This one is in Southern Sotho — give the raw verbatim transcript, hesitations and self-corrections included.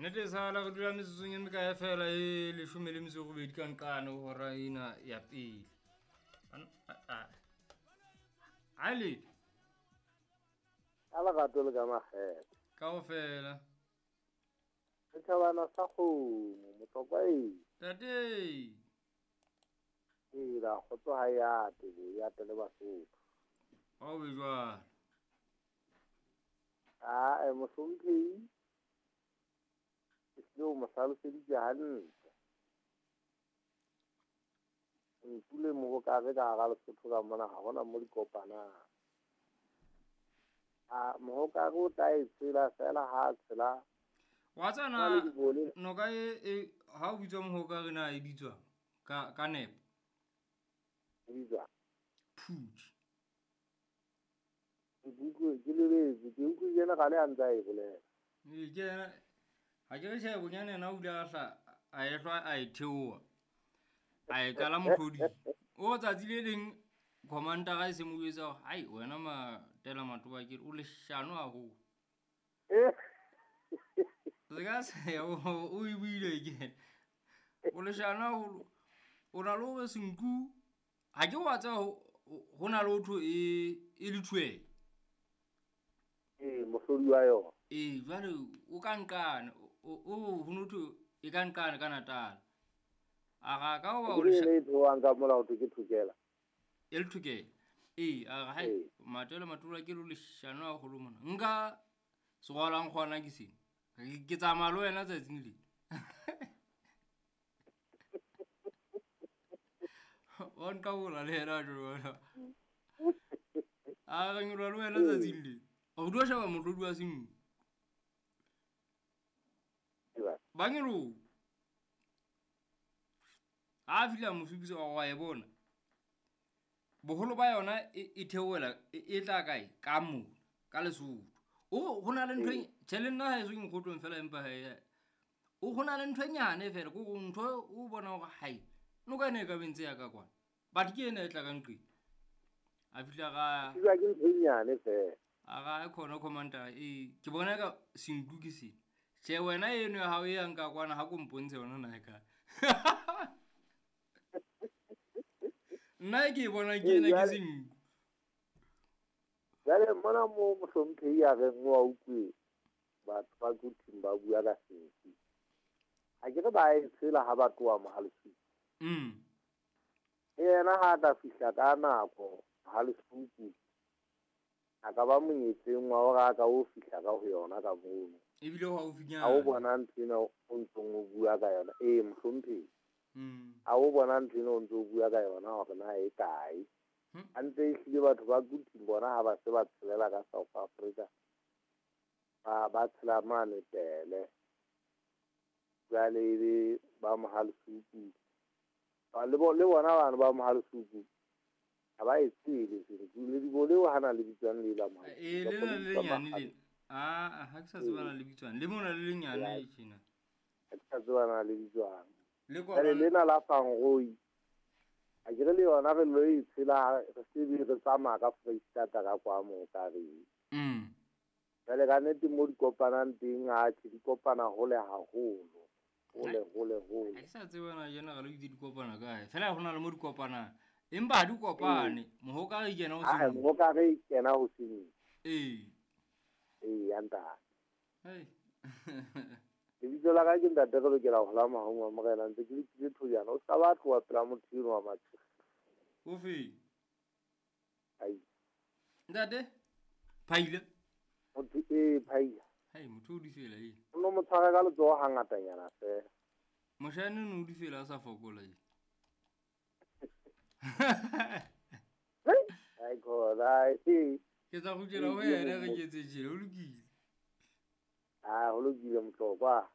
Nnete sala re dula metsotsong e mekae fela e leshome le metso e robedi ka nqane ho hora ena ya pele. A le ka lerato le ka makgethe. Kaofela. Setjhabana sa kgomo motlokwa e. Tate. Ee, la kgotso ha e ate, e ate le Basotho. Ha o be jwalo. Ah, mohlomphehi ke tlile ho mo hlaloseditse hantle. Nku le mohokare ka hara Lesotho ka mona ha hona mo di kopanang. A mohokare o tla e tshela fela ha a tshela. Wa tsana noka e e ha o bitswa mohokare na e bitswa ka ka nepo. E bitswa Phuthi. Ke utlwe ke lebetse, ke utlwe general a ntse a e bolela. Ee, ke yena ha ke re tjhe bonyane yena o ile a hla a e hlwa a e theoha. A e kala mohloding. O tsatsi le leng commander e se mo jwetsa hore hai wena Matela Matobakele o leshano haholo. Se ka se o e buile ke. O leshano haholo. O na le hore senku ha ke wa tseba ho na le ho e e le thuela. Ee, mohlodi wa yona. Ee, jwale o ka nqane o ho no thwe e ka nqane ka Natal. A ra ka hoba o le e theohang ka mola ho thwe ke thokela. E le thokela. Ee, a re hai Matela Matobakele o leshano haholo mona. Nka serwalang kgona ke sena. Ke tsamaya le wena tsatsing lena. Wa nqabola le yena jwalo. A re nyoloha le wena tsatsing lena. O dula sheba mohlodi wa senku. Ba nyoloha. Ha fihla mo supisa wa e bona. Boholo ba yona e theohela e tla kae? Ka mona, ka Lesotho. O ho na le ntho e tjhe le nna ha eso ke mokgotlong fela empa he o ho na le ntho e nyane fela ko ntho o bona hore hai noka ena e ka be ntse ya ka kwana. But ke ena e tla ka nqeng. A fihla ra ke ntho e nyane fela. A ra e khona commander e ke bona ka senku ke sena. Tjhe wena eno ya hao e yang ka kwana ha ko mpontshe yona na e kae. Nna ke bona ke ena ke senku. Jwale mona mo mohlomphehi a reng wa utlwe batho ba Quthing ba bua ka senku. Ha ke re ba e tshela ha ba tloha Mohalesuku. Mm. Yena ha ka fihla ka nako Mohalesuku a ka ba monyetleng wa hore a ka o fihla ka ho yona ka mono. Ebile ho haufinyana. Ha o bona ntho ena o ntsong o bua ka yona. Ee, mohlomphehi. Mm. Ha o bona ntho ena o ntso o bua ka yona hore na e kae. A ntse ehlile batho ba Quthing bona ha ba se ba tshelela ka South Africa. Ba ba tshela mane Pele. Jwale ebe ba Mohalesuku. Ba le le bona bana ba Mohalesuku ha ba e tsebe senku le dibo leo hana le bitswang le la Mohalesuku. Ee, le na le lenyane lena. Ah, ha ke sa tseba na le bitswang. Le mona le lenyane tjena. Ha ke sa tseba na le bitswang. Le kwana lena la Fangroi. A ke re le yona re lo e tshela re se be re tsamaya ka Foreisetata ka kwa mo ka re. Mm. Jwale ka nnete mo di kopanang teng atjhe di kopana hole haholo. Hole hole hole. Ha ke sa tseba na general o itse di kopana kae. Fela ho na le mo di kopanang. Empa ha di kopane, mohokare e kena ho Ah, senku. mohokare e kena ho senku. Ee. Ee, ya ntate. Hei. Lebitso la ka ke ntate re lokela ho la mahong wa morena ntse ke letile thojana o ska ba tloha pela motho eno wa mathe. O fe? Ai. Ntate? Phaila. Motho e Phaila. Hai motho o di fela e. O no mo tshwara ka letsoho hangatanyana fela. Moshane no di fela a sa fokola e. Ai khona e. Ke tla kgutlela ho yena re ketse tjena o lokile. Ah, ho lokile motlokwa.